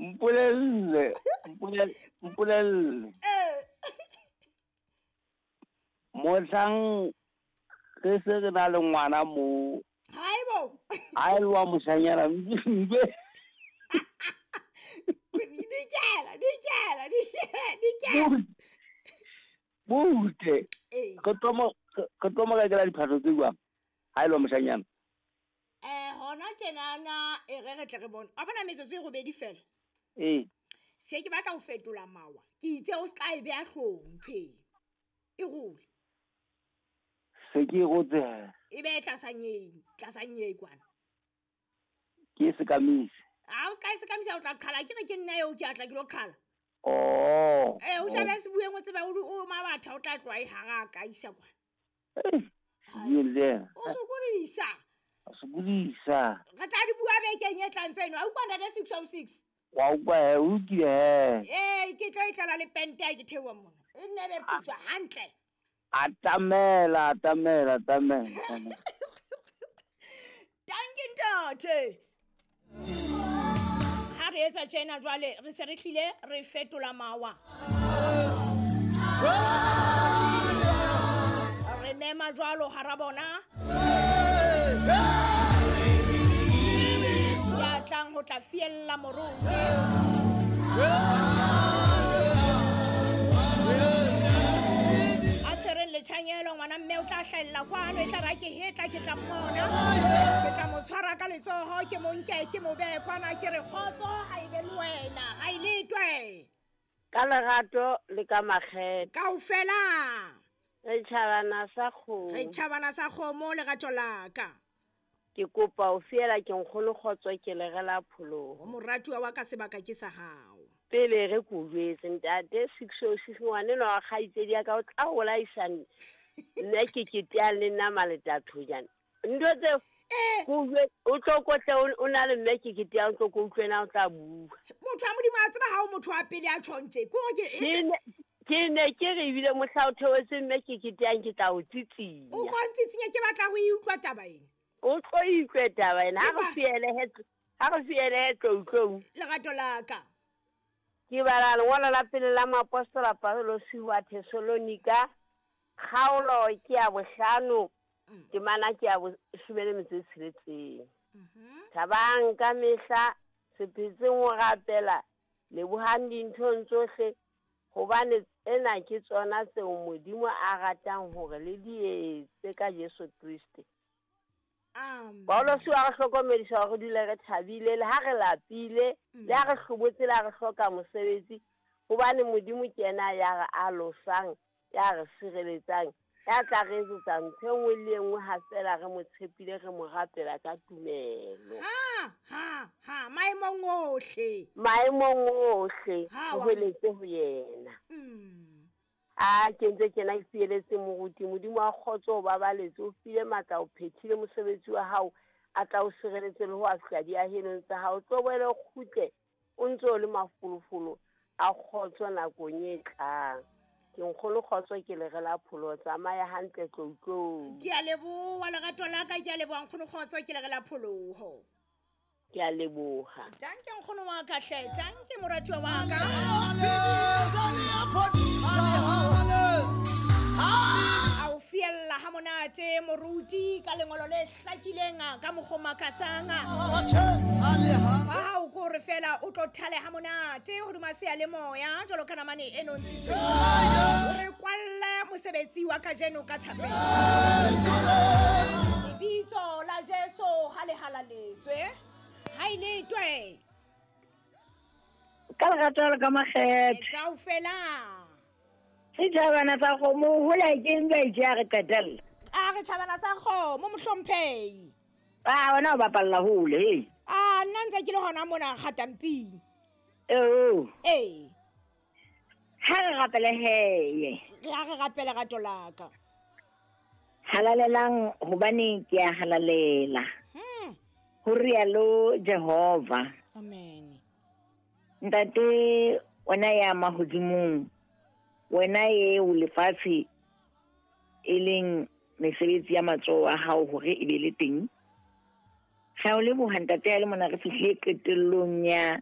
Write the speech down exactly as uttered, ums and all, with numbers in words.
Mpolelle, mpolelle, mpolelle. Eh. Mohlang re se re na le ngwana mo. Haibo. Ha e le wa moshanyana mbe. Dikela, dikela, dikela, dikela. Butle. Ee. Re tlo mo re tlo mo rekela diphahlo tse jwang? Ha e le wa moshanyana. Eh, hona tjenana e re re tle re bone. A bona metsotso e robedi fela. Ee. Se ke batla ho fetola mawa. Ke itse o ska e beha hloohong ntho e. E role. Se ke e rotse. E be tlasa nyei, tlasa nyei kwana. Ke e sekamise. Ha o ska e sekamisa o tla qhala, ke re ke nna eo ke atla ke lo qhala. Oh. Eh, o shabe se bueng o tseba o mabatha o tla tloha e hara ka isa kwana. Eh, le. O sokodisa. O sokodisa. Re tla di bua bekeng e tlang tseno. A utlwa ntate six oh six. Wa utlwa he, o lokile he. Eh, ke tlo e tlala le pente ha ke theoha mona. E nne be putswa hantle. Atamela, atamela, atamela. Danke ntate. Ha re etsa tjena jwale re se re hlile re fetola mawa. Re mema jwalo hara bona. Ya tlang ho tla fiella moruti. A tshwereng letjhanyelo ngwana mme o tla hlahella kwano, e tla ra ke hetla ke tla mmona. Ke tla mo tshwara ka letsoho ke mo nke ke mo behe kwana ke re kgotso ha e be le wena, ha e letwe. Ka lerato le ka makgethe. Kaofela. Re tjhabana sa kgomo. Re tjhabana sa kgomo lerato la ka. Ke kopa o fiela ke nkgono kgotso ke le rela pholoho. Moratuwa wa ka sebaka ke sa hao. Pele re ko jwetse ntate six oh six ngwane no wa kgaitsedi ya ka o tla holaisa nna ke ke tea le nna maletatho jana. Ntho tseo Eh. ko jwe o tlo kotle o na le mme ke ke tea o tlo ko utlwena o tla bua. Motho wa Modimo a tseba ha o motho wa pele a tjhontje. Ke hore ke Ke ne ke re ebile mohla o theohetse mme ke ke teang ke tla o tsitsinya. O ko ntsitsinya ke batla ho e utlwa taba ena. O tlo utlwe taba ena ha re fiele he ha re fiele he tlo utlwe. Lerato la ka. Ke bala lengolo la pele la moapostola Paulosi wa Thesalonika, kgaolo ke ya bohlano, temana ke ya boshome le metso e tsheletseng. Thabang ka mehla, se phetseng ho rapela, lebohang dinthong tsohle, hobane ena ke tsona tseo Modimo a ratang hore le di etse ka Jesu Kriste. Amen. Paulosi wa re hlokomedisa hore re dule re thabile le ha re lapile, le ha re hlobotse, le ha re hloka mosebetsi, hobane Modimo ke yena ya re alosang, ya re sireletsang, ya tla re etsetsa ntho e nngwe le e nngwe ha feela re mo tshepile, re mo rapela ka tumelo. Ha ha ha maemong ohle. Maemong ohle, Ha, ho wa- hweletse ho yena. Mm. A ke ntse kena ke fieletse moruti, Modimo wa kgotso o babaletse, o file matla, o phethile mosebetsi wa hao, a tla o sireletse le ho a fihla diahelong tsa hao. Tlo boele o kgutle o ntse o le mafolofolo a kgotso nakong e tlang. Ke nkgono kgotso ke le rela pholoho, tsamaya hantle tlou tlou. Ke a leboha lerato la ka, ke a leboha nkgono kgotso ke le rela pholoho. Ke a leboha. Danke nkgono wa ka hle, danke moratuwa wa ka. A o fiella ha monate moruti ka lengolo le hlakileng ka mokgwa o makatsang. Ha hao ko re fela o tlo thale ha monate hodima seyalemoya jwalo ka namane e nontshitsweng. O re kwalle mosebetsi wa kajeno ka thapelo. Lebitso la Jesu ha le halaletswe. Ha e letwe. Ka lerato le ka makgethe. Kaofela. Setjhabana sa kgomo hola ke ntwa e tjhe ya re qetella. A re tjhabana sa kgomo mohlomphehi. Ah, wena o bapalla hole, hei. Ah, nna ntse ke le hona mona kgatamping. Eo. Ee. Ha re rapele heye. Re a re rapele rato la ka. Halalelang hobane ke a halalela. Hmm. Ho rialo Jehova. Amen. Ntate wena ya mahodimong, wena e o lefatshe e leng mesebetsi ya matsoho a hao hore e be le teng. Re a o leboha ntate ya le mona re fihlile qetellong ya